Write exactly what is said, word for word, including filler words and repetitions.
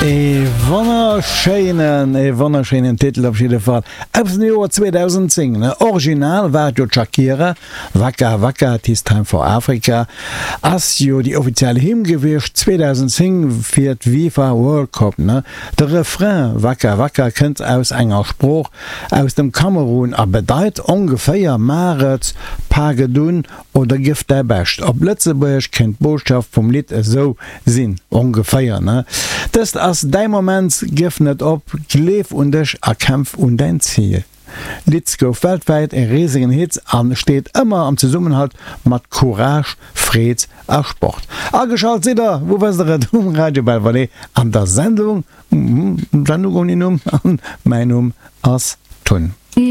Ee wonnerschéinen, ee wonnerschéinen Titel op jidde Fall. Aus dem Joer zweedausendzéng, ne? Original war et jo d'Shakira, Waka Waka, 'Tis Time for Africa, ass jo déi offiziell Hymn gewiescht zweedausendzéng fir d'FIFA World Cup, ne? De Refrain Waka Waka kënnt aus enger Sprooch aus dem Kamerun a bedeit ongeféier Maach et, pak et un oder gëff däi Bescht. Op Lëtzebuergesch kéint d'Botschaft vum Lidd esou sinn, ongeféier, ne? Dëst ass däi Moment, gëff net op, gleef un dech a kämpf un däin Zil. D'Lidd gouf weltwäit e risegen Hit a steet ëmmer am Zesummenhalt mat Courage, Freed a Sport. Ageschalt sidd der, wou wësst der et, um Radio Belvalée an der Sendung, Sendung ouni Numm, an mäin Numm ass Tun.